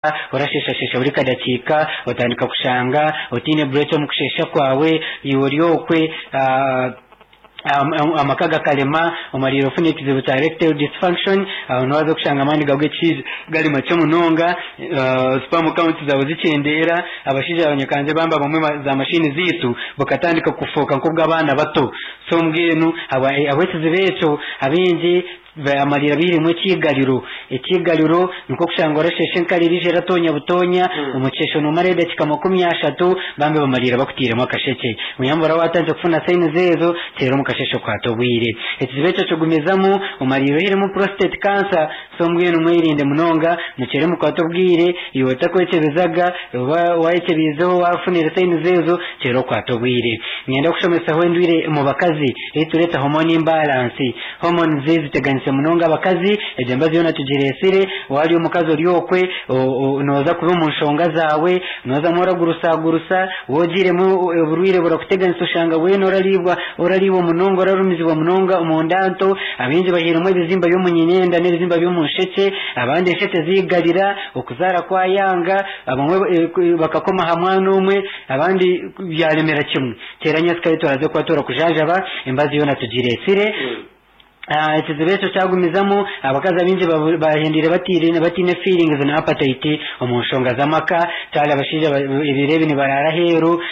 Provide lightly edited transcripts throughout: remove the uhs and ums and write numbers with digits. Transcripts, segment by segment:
Orasheeshasheesha buri kadakiika, otandika kushanga otaine break omu kusheesha kwawe, iwe ori okwe amaka gakarema, omariire ofuna ekizibu kya erectile dysfunction, aho niho waaza kushanga amaani gaawe g'ekishaija gari makye munonga, sperm count zaawe zikyendeera, abashaija abanyakangye bambi abamwe za mashini zaitu bukatandika kufooka nk'obw'abaana bato. So mbwenu ahabw'ekizibu ekyo abaingi Baamarira bairemu ekiigariro. Ekiigariro nikwo kushanga orasheesha enkari eriija eratoonya butoonya, omu kisheesho noomara edakiika 30, bambi bamariira bakutairemu akashekye. Oyambura waatandikire kufuna signs ezo, teera omu kasheeshe okwate obwire. Ekizibu ekyo kigumizamu, omariire oihiremu prostate cancer, so mbwenu mwerinde munonga, mukyere mukwate obwire, iwe otakwekyebezaga, oba waayekyebiizeho waafunire signs ezo, kyera okwate obwire. Niinyenda kushomesaho endwire omu bakazi ei tureeta hormone imbalance. Hormones ziteganise munonga abakazi, egyo embazo yoona tugireetsire, waaba ori omukazi ori okwe nooza kuba omu nshonga zaawe, noozamu oragurusagurusa, waaba ogiiremu oburwaire burakuteganisa oshanga weena orariibwa orariibwa munonga orarumizibwa munonga omu nda nto, abaingi bahairemu ebizimba by'omu nyineenda n'ebizimba by'omu nshekye, abandi enshekye ziigarira, okuzaara kwayanga, abamwe bakakoma aha mwana omwe, abandi byaremera kimwe. Teera nyentsya turaze kuba turakujanjaba embazi yoona tugireetsire. Ekizibu ekyo kyagumizamu, abakazi abaingi bahendeire bataine feelings na appetite omu nshonga z'amaka. Kyari abashaija ebiro ebi nibaraara aheeru,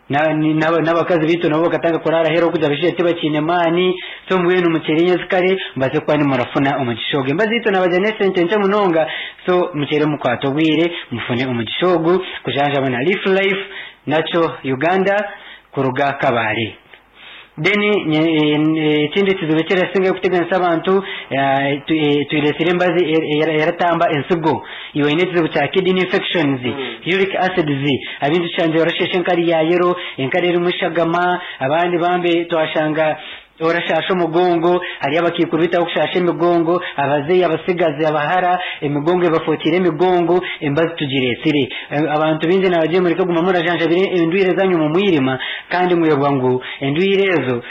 n'abakazi baitu nabo bakatandika kuraara aheeru ahabw'okugira abashaija tibakiine maani. So mbwenu mukyere nyentsya kare mubaase kuba nimurafuna omugisha ogu. Embazi zaitu nabagira n'esente nkye munonga, so mukyere mukwate obwire mufune omugisha ogu kujanjaba na Leaf Life. Nakyo Uganda kuruga Kabale. Then ekindi ekizibu ekirasingayo kuteganisa abantu twiretsire embazi eratamba ensigo. Iwe oine ekizibu kya kidney infections, uric acids, abaingi tushangire barasheesha enkari ya yellow, enkari erimu eshagama, abandi bambi twashanga Orashaasha omugongo, hariyo abakaikuru beitu abakushaasha emigongo, abazeeyi, abatsigazi, abahara, emigongo ebafookire emigongo, embazi tugireetsire. Abantu baingi naabagira mureke kuguma murajanjabira endwaire zaanyu omu mwirima kandi mwebwa ngu endwaire ezo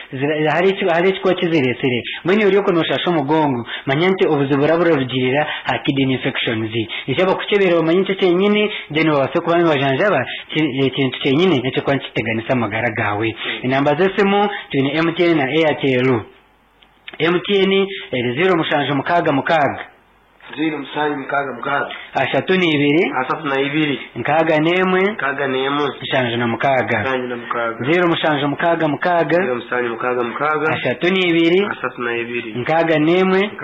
hariho ekikuba kizireetsire. Mbwenu iwe ori okwo nooshaasha omugongo, manya nti obuzibu buraba burarugiirira aha kidney infections. Nikyo abakukyebera bamanye nikyo kyenyini then babaase kuba nibajanjaba ekintu kyenyini ekirikuba nikiteganisa amagara gaawe. Enamba z'esimu. Twine MTN na Airtel. MTN eri 0766. 0766. 32. 32. 61. 61. 76. 76. 0766. 0766. 32. 32. 61. 61.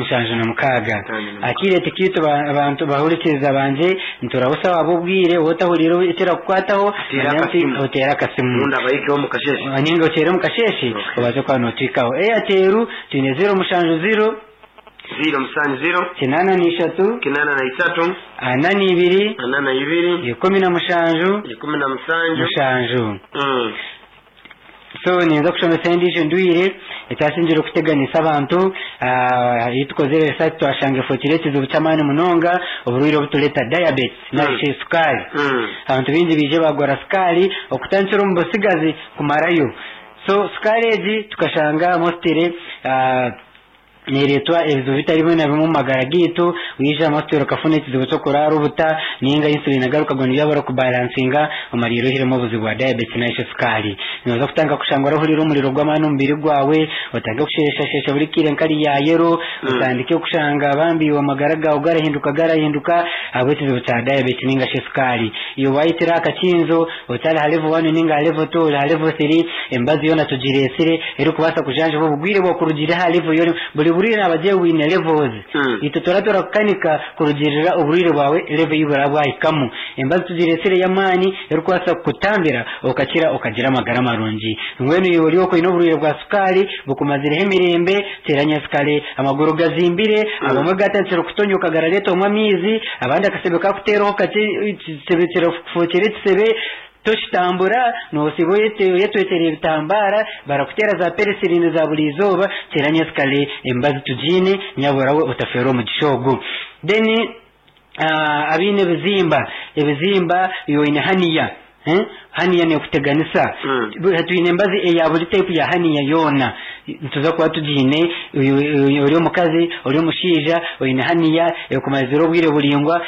76. 76. Akiire tikiitu abantu bahurikiriza bangye Niturabusa waaba obwire waaba otahuriire ekirakukwataho Oteere manya nti akasimu. oteere akasimu. Obundi abayikeho omu kasheeshe. Ninga oteere omu kasheeshe Okay. obaase kuba nootwikaho. Airtel twine 070 070 83 83 42 42 17 17 7. So ninza kushomesa endiijo ndwire ekyasingire kuteganisa abantu. Ei tukozire research twashanga efookire ekizibu ky'amaani munonga, oburwaire obutureeta diabetes nari shi sukaari. Abantu baingi baije baagwara sukaari okutandikira omu butsigazi kumarayo. So sukaari egi tukashanga mostly Neereetwa ebizibu bitari bimwe na bimwe omu magara gaitu. Waija mostly okafuna ekizibu ky'okuraara obuta ninga insulin egaruka gwa nibyo barikubalansinga omariire oihiremu obuzibu bwa diabetes nari shi sukaari. Nooza kutandika kushanga orahurira omuriro gw'amaani omu mubiri gwawe, otandike kusheeshasheesha buri kaire nkari ya yellow, otandike kushanga bambi iwe amagara gaawe garahinduka garahinduka ahabw'ekizibu kya diabetes ninga shi sukaari. Iwe waayitira aha kakinzo otari ha level one ninga ha level two ori ha level three, emibazi yoona tugireetsire erikubaasa kujanjaba obugwire bwawe kurugiirira aha level ei orimu. Buri burwaire naabagira ngu bwine levels. Itwe turaba turakukanika kurugiirira oburwaire bwawe level ei buraba bwahikamu. Emibazi tugireetsire ey'amaani erikubaasa kukutambira okakira okagira amagara marungi. Mbwenu iwe ori okwo oine oburwaire bwa sukaari bukumazireho emirembe, teera nyensikare amaguru gazimbire, abamwe gatandikire kutonyoka garareetwamu amaizi, abandi akasebe kakuteeraho kakye ekisebe kirakufokyera ekisebe, Tokitambura, noosiiba oyetwekyera ebitambara, barakuteera za penicillin za buri izooba, teera nyensikare emibazi tugiine, nyabura we otafeerwa omugisha ogu. Then abaine ebizimba, ebizimba iwe oine hernia, hernia nekuteganisa, twine emibazi eya buri type ya hernia yoona. Nituza kuba tugiine ori omukazi, ori omushaija, oine hernia ekumazire obwire buraingwa.